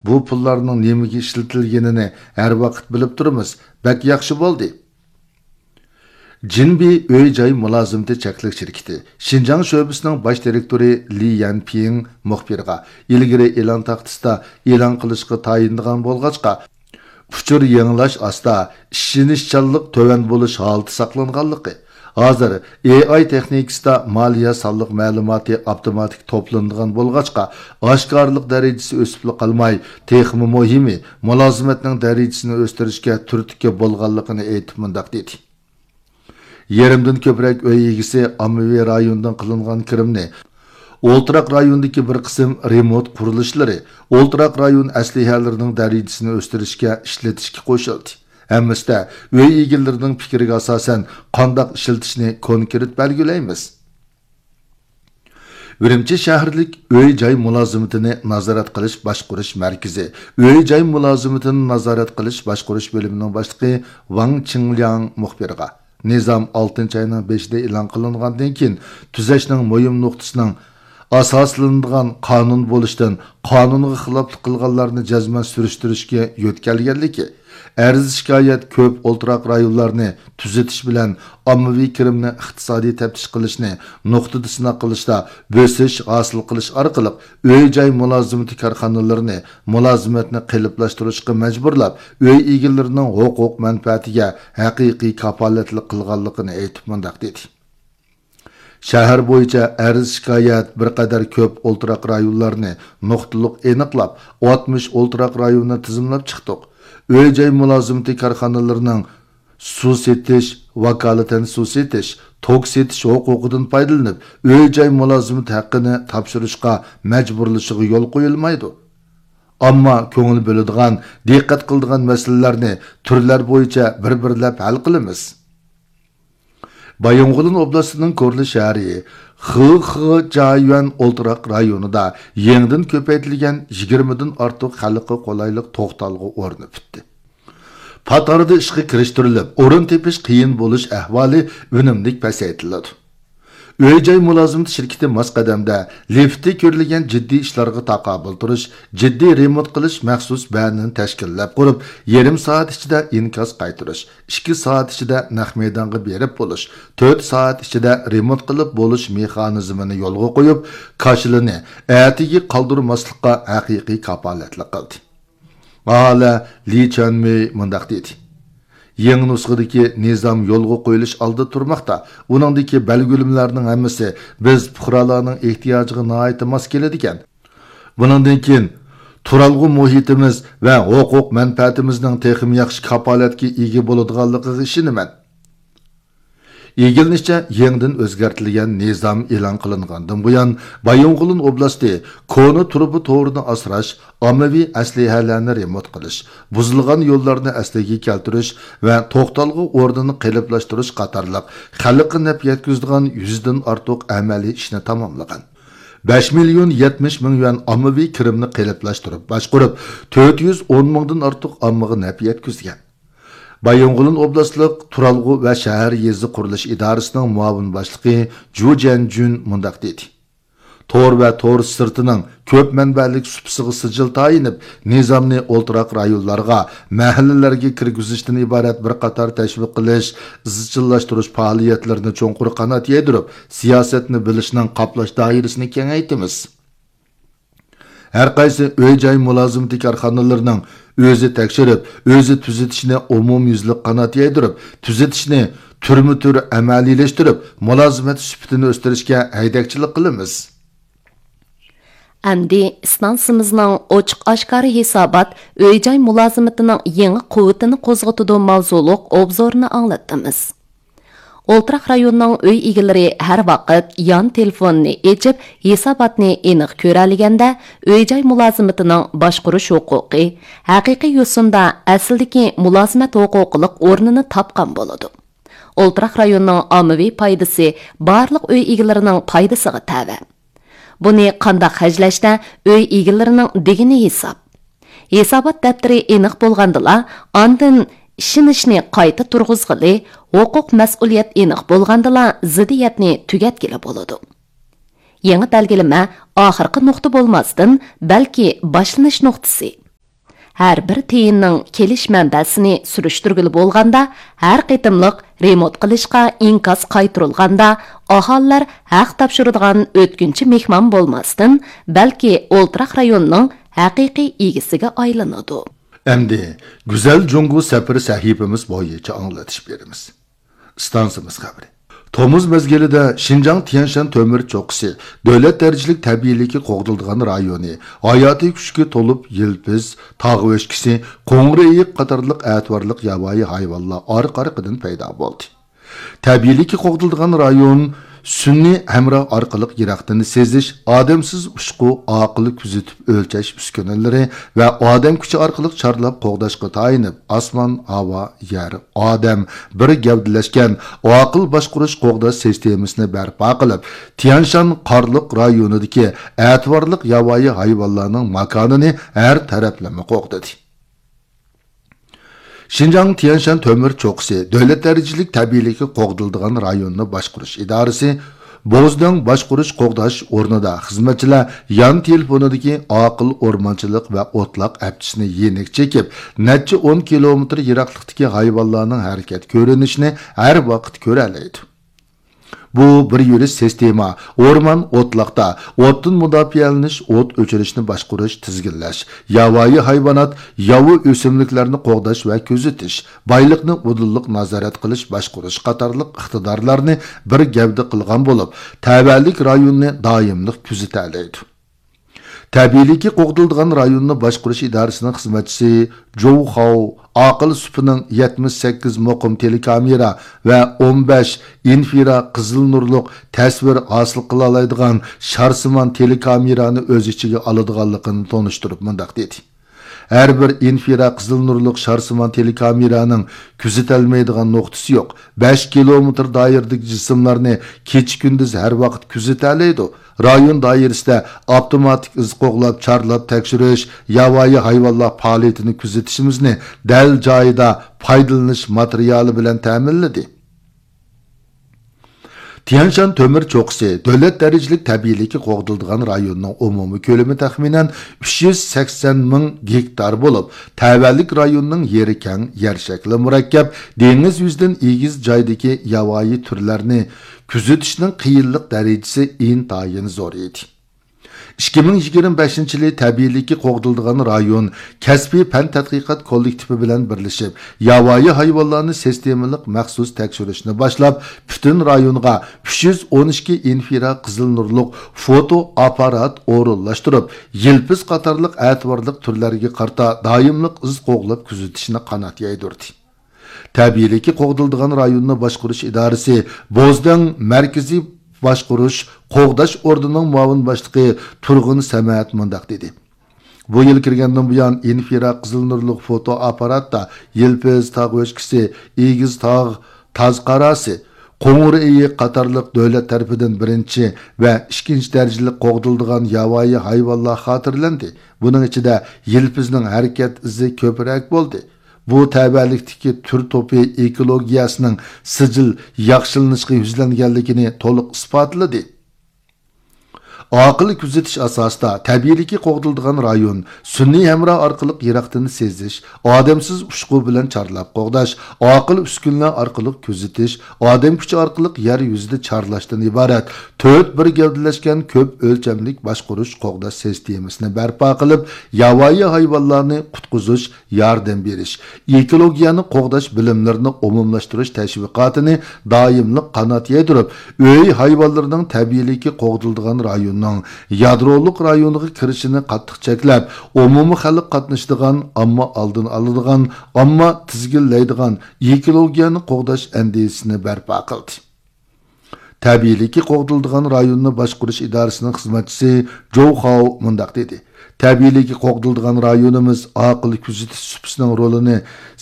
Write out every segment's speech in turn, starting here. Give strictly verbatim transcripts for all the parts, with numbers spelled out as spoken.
بۇ پۇللارنىڭ نېمىگە ئىشلىتىلگىنىنى ھەر ۋاقىت بىلىپ تۇرىمىز. بەك ياخشى بولدى. جىنبى ئۆي-جاي مۇلازىمىتى چەكلىك شىركىتى شىنجاڭ شۆبىسىنىڭ باش دىرېكتورى لى يەنپىڭ مۇخبىرغا ئىلگىرى ئېلان تاختىسىدا ئېلان قىلىشقا تايىنىدىغان بولغاچقا، ئۇچۇر يېڭىلاش ئاستا، ئىشىنىشچانلىق تۆۋەن بولۇش ھالىتى ساقلانغانلىقى، ھازىر ئېي ئاي تېخنىكىسىدا مالىيە سانلىق مەلۇماتى ئاپتوماتىك توپلىنىدىغان بولغاچقا، ئاشكارىلىق دەرىجىسى ئۆسۈپلا قالماي، تېخىمۇ مۇھىمى، مۇلازىمەتنىڭ دەرىجىسىنى ئۆستۈرۈشكە تۈرتكە بولغانلىقىنى ئېيتىپ مۇنداق دېدى. يېرىمدىن كۆپرەك ئۆي ئىگىسى ئاممىۋى رايوندىن قىلىنغان كىرىمنى ئولتۇراق رايوندىكى بىر قىسىم رېمونت قۇرۇلۇشلىرى، ئولتۇراق رايون ئەسلىھەلىرىنىڭ دەرىجىسىنى ئۆستۈرۈشكە ئىشلىتىشكە قوشۇلدى. ھەممىسىدە ئۆي ئىگىلىرىنىڭ پىكرىگە ئاساسەن قانداق ئىشلىتىشنى كونكرېت بەلگىلەيمىز. ئۈرۈمچى شەھەرلىك ئۆي-جاي مۇلازىمىتىنى نازارەت قىلىش باشقۇرۇش مەركىزى ئۆي-جاي مۇلازىمىتىنى نازارەت قىلىش باشقۇرۇش بۆلۈمىنىڭ باشلىقى ۋاڭ چىڭلياڭ مۇخبىرغا، نىزام ئالتىنچى ئاينىڭ بېشىدە ئېلان قىلىنغاندىن كېيىن، تۈزەشنىڭ مۇھىم نۇقتىسىنىڭ ئاساسلىنىدىغان قانۇن بولۇشتىن قانۇنغا خىلاپلىق قىلغانلارنى جەزمەن سۈرۈشتۈرۈشكە يۆتكەلگەنلىكى، ئەرز-شىكايەت كۆپ ئولتۇراق رايونلارنى تۈزىتىش بىلەن ئاممىۋى كىرىمنى ئىقتىسادىي تەپتىش قىلىشنى نۇقتىدا سىناق قىلىشتا بۆسۈش ھاسىل قىلىش ئارقىلىق ئۆي-جاي مۇلازىمىتى كارخانىلىرىنى مۇلازىمەتنى قېلىپلاشتۇرۇشقا مەجبۇرلاپ، ئۆي ئىگىلىرىنىڭ ھوقۇق مەنپەئەتىگە ھەقىقىي كاپالەتلىك قىلغانلىقىنى ئېيتىپ مۇنداق دېدى. شەھەر بويىچە ئەرز-شىكايەت بىر قەدەر كۆپ ئولتۇراق رايونلارنى نۇقتىلىق ئېنىقلاپ، ئاتمىش ئولتۇراق رايوننى تىزىملاپ چىقتۇق. ئۆي-جاي مۇلازىمىتى كارخانىلىرىنىڭ سۇ سېتىش، ۋاكالىتەن سۇ سېتىش، توك سېتىش ھوقۇقىدىن پايدىلىنىپ، ئۆي-جاي مۇلازىمىتى ھەققىنى تاپشۇرۇشقا مەجبۇرلىشىغا يول قويۇلمايدۇ. ئامما كۆڭۈل بۆلىدىغان، دىققەت قىلىدىغان مەسىلىلەرنى تۈرلەر بويىچە بىر-بىرلەپ ھەل قىلىمىز. بايىنغولىن ئوبلاستىنىڭ كورلا شەھىرى خېخې جايۈەن ئولتۇراق رايونىدا يېڭىدىن كۆپەيتىلگەن يىگىرمىدىن ئارتۇق خەلققە قولايلىق توختالغۇ ئورنى پۈتتى. پات ئارىدا ئىشقا كىرىشتۈرۈلۈپ، ئورۇن تېپىش قىيىن بولۇش ئەھۋالى ئۈنۈملۈك پەسەيتىلىدۇ. ئۆي-جاي مۇلازىمىتى شىركىتى ماس قەدەمدە لىفتى كۆرۈلگەن جىددىي ئىشلارغا تاقابىل تۇرۇش، جىددىي رېمونت قىلىش مەخسۇس بەنىنى تەشكىللەپ قۇرۇپ، يېرىم سائەت ئىچىدە ئىنكاس قايتۇرۇش، ئىككى سائەت ئىچىدە نەق مەيدانغا بېرىپ بولۇش، تۆت سائەت ئىچىدە رېمونت قىلىپ بولۇش مېخانىزمىنى يولغا قويۇپ، كاشىلىنى ئەتىگە قالدۇرماسلىققا ھەقىقىي كاپالەتلىك قىلدى. ئاھالە لى چۈەنمېي مۇنداق دېدى: يېڭى نۇسخىدىكى نىزام يولغا قويۇلۇش ئالدىدا تۇرماقتا. ئۇنىڭدىكى بەلگىلىمىلەرنىڭ ھەممىسى بىز پۇقرالارنىڭ ئېھتىياجىغا ناھايىتى ماس كېلىدىكەن. بۇنىڭدىن كېيىن تۇرالغۇ مۇھىتىمىز ۋە ھوقۇق مەنپەئەتىمىزنىڭ تېخىمۇ ياخشى كاپالەتكە ئىگە بولىدىغانلىقىغا ئىشىنىمەن. ئىگىلىنىشىچە، يېڭىدىن ئۆزگەرتىلگەن نىزام ئېلان قىلىنغاندىن بۇيان، بايىنغولىن ئوبلاستى كونا تۇرۇبا تورىنى ئاسراش، ئاممىۋى ئەسلىھەلەرنى رېمونت قىلىش، بۇزۇلغان يوللارنى ئەسلىگە كەلتۈرۈش ۋە توختالغۇ ئورنىنى قېلىپلاشتۇرۇش قاتارلىق خەلققە نەپ يەتكۈزىدىغان يۈزدىن ئارتۇق ئەمەلىي ئىشنى تاماملىغان. بەش مىليون يەتمىش مىڭ يۈەن ئاممىۋى كىرىمنى قېلىپلاشتۇرۇپ باشقۇرۇپ، تۆت يۈز ئون مىڭدىن ئارتۇق ئاممىغا نەپ يەتكۈزگەن. بايىنغولىن ئوبلاستلىق تۇرالغۇ ۋە شەھەر يېزا قۇرۇلۇش ئىدارىسىنىڭ مۇئاۋىن باشلىقى جۇ جيەنجۈن مۇنداق دېدى: تور ۋە تور سىرتىنىڭ كۆپ مەنبەلىك سۇپىسىغا سىجىل تايىنىپ، نىزامنى ئولتۇراق رايونلارغا، مەھەللىلەرگە كىرگۈزۈشتىن ئىبارەت بىر قاتار تەشۋىق قىلىش، ئىزچىللاشتۇرۇش پائالىيەتلىرىنى چوڭقۇر قانات يايدۇرۇپ، سىياسەتنى بىلىشنىڭ قاپلاش دائىرىسىنى كېڭەيتىمىز. ھەر قايسى ئۆي-جاي مۇلازىمىتى كارخانىلىرىنىڭ ئۆزى تەكشۈرۈپ، ئۆزى تۈزىتىشىنى ئومۇميۈزلۈك قانات يايدۇرۇپ، تۈزىتىشنى تۈرمە-تۈر ئەمەلىيلەشتۈرۈپ، مۇلازىمەت سۈپىتىنى ئۆستۈرۈشكە ھەيدەكچىلىك قىلىمىز. ئەمدى ئىستانسىمىزنىڭ ئوچۇق-ئاشكارا ھېسابات ئۆي-جاي مۇلازىمىتىنىڭ يېڭى قۇۋۋىتىنى قوزغىتىدۇ ماۋزۇلۇق ئوبزورىنى ئاڭلاتتىمىز. ئولتۇراق رايوننىڭ ئۆي ئىگىلىرى ھەر ۋاقىت يان تېلېفوننى ئېچىپ، ھېساباتنى ئېنىق كۆرەلىگەندە، ئۆي-جاي مۇلازىمىتىنىڭ باشقۇرۇش ھوقۇقى ھەقىقىي يوسۇندا ئەسلىدىكى مۇلازىمەت ھوقۇقلۇق ئورنىنى تاپقان بولىدۇ. ئولتۇراق رايوننىڭ ئاممىۋى پايدىسى بارلىق ئۆي ئىگىلىرىنىڭ پايدىسىغا تەۋە. بۇنى قانداق خەجلەشتە ئۆي ئىگىلىرىنىڭ دېگىنى ھېساب. ھېسابات دەپتىرى ئېنىق بولغاندىلا، ئاندىن ئىشىنىشنى قايتا تۇرغۇزغىلى، ھوقۇق مەسئۇلىيەت ئېنىق بولغاندىلا، زىددىيەتنى تۈگەتكىلى بولىدۇ. يېڭى بەلگىلىمە ئاخىرقى نۇقتا بولماستىن، بەلكى باشلىنىش نۇقتىسى. ھەر بىر تىيىننىڭ كېلىش مەنبەسىنى سۈرۈشتۈرگىلى بولغاندا، ھەر قېتىملىق رېمونت قىلىشقا ئىنكاس قايتۇرۇلغاندا، ئاھالىلەر ھەق تاپشۇرىدىغان ئۆتكۈنچى مېھمان بولماستىن، بەلكى ئولتۇراق رايوننىڭ ھەقىقىي ئىگىسىگە ئايلىنىدۇ. ئەمدى گۈزەل جۇڭگو سەپىرى سەھىپىمىز بويىچە ئاڭلىتىش بېرىمىز. ئىستانسىمىز خەۋىرى. تومۇز مەزگىلىدە شىنجاڭ تيەنشان تۆمۈر چوققىسى دۆلەت دەرىجىلىك تەبىئىيلىكى قوغدىلىدىغان رايونى، ھاياتىي كۈچكە تولۇپ يىلپىز، تاغ ئۆچكىسى، قوڭۇر ئېيىق قاتارلىق ئەتىۋارلىق ياۋايى ھايۋانلار ئارقا-ئارقىدىن پەيدا بولدى. تەبىئىيلىكى قوغدىلىدىغان رايون سۈنئىي ھەمراھ ئارقىلىق يىراقتىن سېزىش، ئادەمسىز ئۇچقۇ، ئاقىل كۆزىتىپ ئۆلچەش ئۈسكۈنىلىرى ۋە ئادەم كۈچى ئارقىلىق چارلاپ قوغداشقا تايىنىپ، ئاسمان، ھاۋا، يەر، ئادەم بىر گەۋدىلەشكەن ئاقىل باشقۇرۇش قوغداش سىستېمىسىنى بەرپا قىلىپ، تيەنشان قارلىق رايونىدىكى ئەتىۋارلىق ياۋايى ھايۋانلارنىڭ ماكانىنى ھەر تەرەپلىمە قوغدىدى. شىنجاڭ تيەنشان تۆمۈر چوققىسى دۆلەت دەرىجىلىك تەبىئىيلىكى قوغدىلىدىغان رايوننى باشقۇرۇش ئىدارىسى بوزدەڭ باشقۇرۇش قوغداش ئورنىدا خىزمەتچىلەر يان تېلېفونىدىكى ئاقىل ئورمانچىلىق ۋە ئوتلاق ئەپچىسىنى يېنىك چېكىپ، نەچچە ئون كىلومېتىر يىراقلىقتىكى ھايۋانلارنىڭ ھەرىكەت كۆرۈنۈشىنى ھەر ۋاقىت كۆرەلەيدۇ. بۇ بىر يۈرۈش سىستېما، ئورمان ئوتلاقتا ئوتتىن مۇداپىئەلىنىش، ئوت ئۆچۈرۈشنى باشقۇرۇش، تىزگىنلەش، ياۋايى ھايۋانات، ياۋا ئۆسۈملۈكلەرنى قوغداش ۋە كۆزىتىش، بايلىقنى ئۇدۇللۇق نازارەت قىلىش، باشقۇرۇش قاتارلىق ئىقتىدارلارنى بىر گەۋدە قىلغان بولۇپ، تەۋەلىك رايوننى دائىملىق كۆزىتەلەيدۇ. تەبىئىيلىكى قوغدىلىدىغان رايوننى باشقۇرۇش ئىدارىسىنىڭ خىزمەتچىسى جوۋ خاۋ ئاقىل سۈپىنىڭ يەتمىش سەككىز مۇقىم تېلېكامېرا ۋە ئون بەش ئىنفرا قىزىل نۇرلۇق تەسۋىر ھاسىل قىلالايدىغان شارسىمان تېلېكامېرانى ئۆز ئىچىگە ئالىدىغانلىقىنى تونۇشتۇرۇپ مۇنداق دېدى: ھەر بىر ئىنفرا قىزىل نۇرلۇق شارسىمان تېلېكامېرانىڭ كۆزىتەلمەيدىغان نۇقتىسى يوق. بەش كىلومېتىر دائىرىدىكى جىسىملارنى كېچە-كۈندۈز ھەر ۋاقىت كۆزىتەلەيدۇ. رايون دائىرىسىدە ئاپتوماتىك ئىز قوغلاپ، چارلاپ تەكشۈرۈش، ياۋايى ھايۋانلار پائالىيىتىنى كۆزىتىشىمىزنى دەل جايىدا پايدىلىنىش ماتېرىيالى بىلەن تەمىنلىدى. تيەنشان تۆمۈر چوققىسى دۆلەت دەرىجىلىك تەبىئىيلىكى قوغدىلىدىغان رايوننىڭ ئومۇمىي كۆلىمى تەخمىنەن ئۈچ يۈز سەكسەن مىڭ گېكتار بولۇپ، تەۋەلىك رايوننىڭ يېرى كەڭ، يەر شەكلى مۇرەككەپ، دېڭىز يۈزىدىن ئېگىز جايدىكى ياۋايى تۈرلەرنى كۆزىتىشنىڭ قىيىنلىق دەرىجىسى ئىنتايىن زور ئىدى. ئىككى مىڭ يىگىرمە بەشىنچى يىلى تەبىئىيلىكى قوغدىلىدىغان رايون كەسپىي پەن تەتقىقات كوللېكتىپى بىلەن بىرلىشىپ، ياۋايى ھايۋانلارنى سىستېمىلىق مەخسۇس تەكشۈرۈشنى باشلاپ، پۈتۈن رايونغا ئۈچ يۈز ئون ئىككى ئىنفرا قىزىل نۇرلۇق فوتو ئاپپارات ئورۇنلاشتۇرۇپ، يىلپىز قاتارلىق ئەتىۋارلىق تۈرلەرگە قارىتا دائىملىق ئىز قوغلاپ كۆزىتىشنى قانات يايدۇردى. تەبىئىيلىكى قوغدىلىدىغان رايوننى باشقۇرۇش ئىدارىسى بوزدەڭ مەركىزىي باشقۇرۇش قوغداش ئورنىنىڭ مۇئاۋىن باشلىقى تۇرغۇن سەمەت مۇنداق دېدى: بۇ يىل كىرگەندىن بۇيان، ئىنفرا قىزىل نۇرلۇق فوتو ئاپپاراتتا يىلپىز تاغ ئۆچكىسى، ئېگىز تاغ، تاز قاراسى، قوڭۇر ئېيىق قاتارلىق دۆلەت تەرىپىدىن بىرىنچى ۋە ئىككىنچى دەرىجىلىك قوغدىلىدىغان ياۋايى ھايۋانلار خاتىرىلەندى. بۇنىڭ ئىچىدە يىلپىزنىڭ ھەرىكەت ئىزى كۆپرەك بولدى. بۇ تەۋەلىكتىكى تۈر توپى ئېكولوگىيەسىنىڭ سىجىل ياخشىلىنىشقا يۈزلەنگەنلىكىنى تولۇق ئىسپاتلىدى. ئاقىل كۆزىتىش ئاساسىدا تەبىئىيلىكى قوغدىلىدىغان رايون سۈنئىي ھەمراھ ئارقىلىق يىراقتىن سېزىش، ئادەمسىز ئۇچقۇ بىلەن چارلاپ قوغداش، ئاقىل ئۈسكۈنىلەر ئارقىلىق كۆزىتىش، ئادەم كۈچى ئارقىلىق يەر يۈزىدە چارلاشتىن ئىبارەت تۆت بىر گەۋدىلەشكەن كۆپ ئۆلچەملىك باشقۇرۇش قوغداش سىستېمىسىنى بەرپا قىلىپ، ياۋايى ھايۋانلارنى قۇتقۇزۇش، ياردەم بېرىش، ئېكولوگىيەنى قوغداش بىلىملىرىنى ئومۇملاشتۇرۇش تەشۋىقاتىنى دائىملىق قانات يايدۇرۇپ، ئۆي ھايۋانلىرىنىڭ تەبىئىيلىكى قوغدىلىدىغان رايوننىڭ يادرولۇق رايونىغا كىرىشىنى قاتتىق چەكلەپ، ئومۇمىي خەلق قاتنىشىدىغان، ئامما ئالدىنى ئالىدىغان، ئامما تىزگىنلەيدىغان ئېكولوگىيەنى قوغداش ئەندىزىسىنى بەرپا قىلدى. تەبىئىيلىكى قوغدىلىدىغان رايوننى باشقۇرۇش ئىدارىسىنىڭ خىزمەتچىسى جوۋ خاۋ مۇنداق دېدى: تەبىئىيلىكى قوغدىلىدىغان رايونىمىز ئاقىل كۆزىتىش سۇپىسىنىڭ رولىنى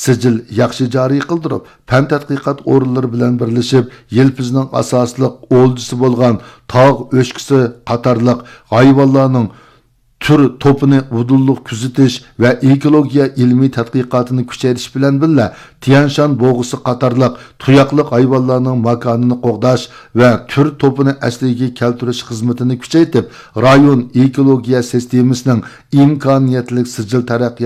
سىجىل ياخشى جارى قىلدۇرۇپ، پەن تەتقىقات ئورۇنلىرى بىلەن بىرلىشىپ، يىلپىزنىڭ ئاساسلىق ئولجىسى بولغان تاغ ئۆچكىسى قاتارلىق ھايۋانلارنىڭ تۈر توپىنى ئۇدۇللۇق كۆزىتىش ۋە ئېكولوگىيە ئىلمىي تەتقىقاتىنى كۈچەيتىش بىلەن بىللە، تيەنشان بوغىسى قاتارلىق تۇياقلىق ھايۋانلارنىڭ ماكانىنى قوغداش ۋە تۈر توپىنى ئەسلىگە كەلتۈرۈش خىزمىتىنى كۈچەيتىپ، رايون ئېكولوگىيە سىستېمىسىنىڭ ئىمكانىيەتلىك سىجىل تەرەققىيات